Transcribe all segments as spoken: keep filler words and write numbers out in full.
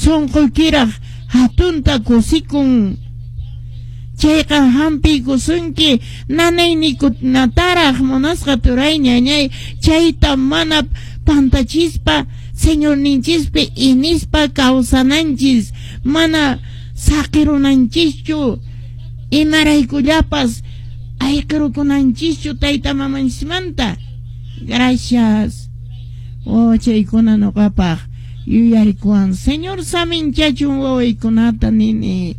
Sunquykiraq hatunta kusikun. Chayqa hampiykusunki nanayninkunataraq munasqa turay ñañay, chayta mana pantachispa Señorninchispi inispa kawsananchis, mana saqirunanchischu, imaraykullapas ayqirukunanchischu tayta mamanchismanta. Gracias. Oh, chaykuna nuqapaq yuyarikuwan. Señor saminchachun wawaykunata nini.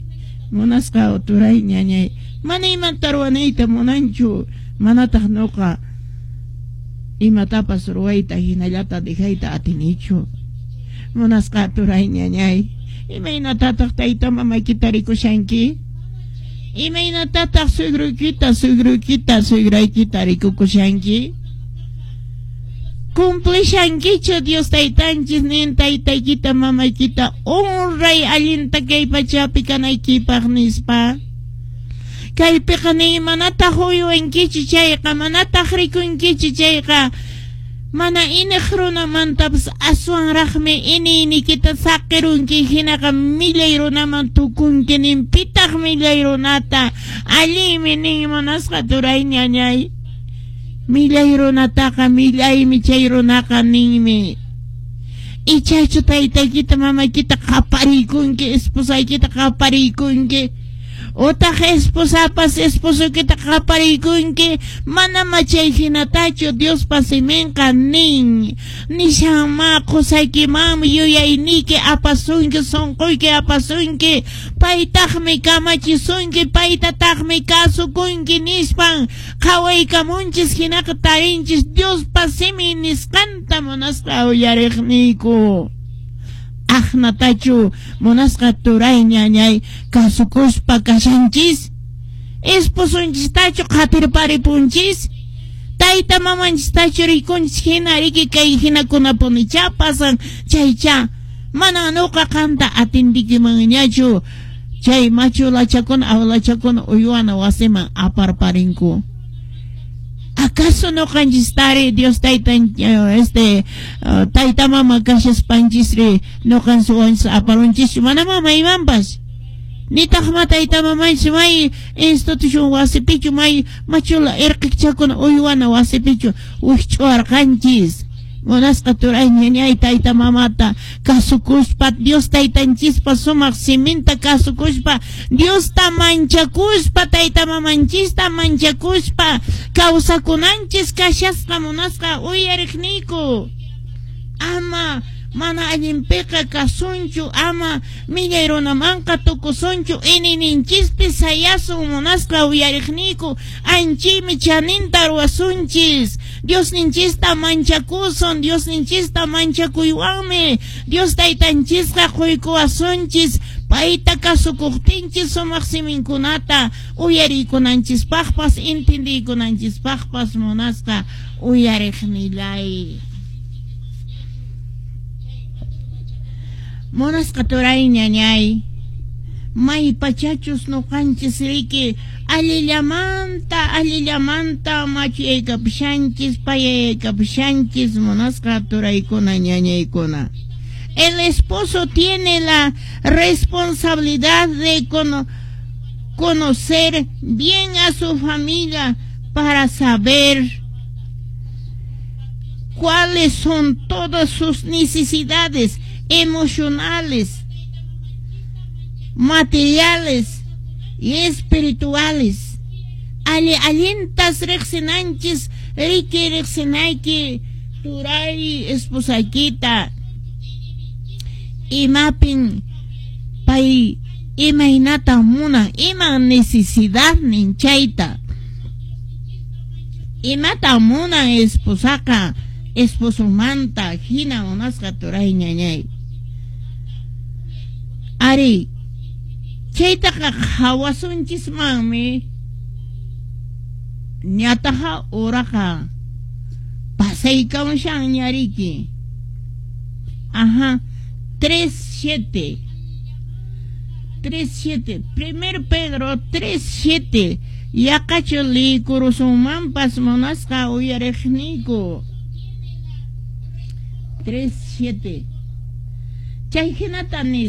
Munasqa turay ñañay, mana imata ruwanayta munanchu, manataq nuqa imatapas ruwayta hinallata dejayta atinichu. Munasqa turay ñañay, imaynatataq tayta mamaykita rikushanki? Imaynatataq suegruykita, suegruykita, suegraykita rikukushanki? Cumplishankichu Dios taytanchis nin taytaykita mamaykita honray allinta kay pachapi kanaykipaq nispa? Kaypiqa nin manataq uywankichu chayqa, manataq rikunkichu chayqa, mana iniq runamantapas aswanraqmi iniynikita saqirunki, hinaqa millay runaman tukunki nin. Pitaq millay runata allinmi nin munasqa turay ñañay? Millay runataqa millaymi chay runaqa ninmi. Ichachu taytaykita mamaykita qapariykunki, esposaykita qapariykunki, utaq esposapas esposokita qapariykunki? Mana chay hinatachu Diospa siminqa nin. Nishanma qusaykimanmi yuyayniyki apasunki, sunquyki apasunki, paytaqmi kamachisunki, paytataqmi kasukunki nispan. Qhawaykamunchis hinaqa tarinchis Diospa simin nisqanta munasqa uyariqniyku. Aqnatachu munasqa turay ñañay kasukuspa kashanchis? Esposunchistachu qatirparipunchis? Tayta mamanchistachu rikunchis hina riki kay hinakunapunicha pasan chaycha mana nuqa qanta atindikimanñachu chay machulachakuna awlachakuna uywana wasiman aparparinku. ¿Acaso nuqanchistari Dios taytan este tayta mama kashaspanchisri nuqanchis aparunchis? Mana mama imanpas nitaq ma tayta mamanchis may institución wasipichu may machula irqichakuna uywana wasipichu wikch'uwarqanchis. Munasqa turay ñañay, tayta mamata kasukuspa, Dios taytanchispa sumaq siminta kasukuspa, Diosta manchakuspa, tayta mamanchista manchakuspa kawsakunanchis kashasqa munasqa uyariqniyku. Ama mana allinpiqa kasunchu, ama millay runamanqa tukusunchu, inininchispi sayasun munasqa uyariqniyku, anchimi chaninta ruwasunchis. Diosninchista manchakusun, Diosninchista manchakuywanmi Dios taytanchisqa quykuwasunchis, payta kasukuqtinchis sumaq siminkunata uyarikunanchispaqpas intindiykunanchispaqpas munasqa uyariqnillay. Munasqa turay ñañay, may pachachus nuqanchis riki allillamanta allillamanta machuyaykapushanchis payaykapushanchis munasqa turaykuna ñañaykuna. El esposo tiene la responsabilidad de cono conocer bien a su familia para saber cuáles son todas sus necesidades emocionales, materiales y espirituales. Ali allintas riqsinanchis, riki riqsinayki turay esposaykita, imapin pay imaynata munan, ima necesidadnin chayta, imata munan esposaqa esposomanta hina munasqa turay ñañay. Ari chaytaqa qhawasunchismanmi ñataqa uraqa pasaykamushanña riki. Ajá, tres siete tres siete, primer Pedro tres siete, yaqachu liykurusunmanpas munasqa uyariqniyku. Tres siete. Chay hinata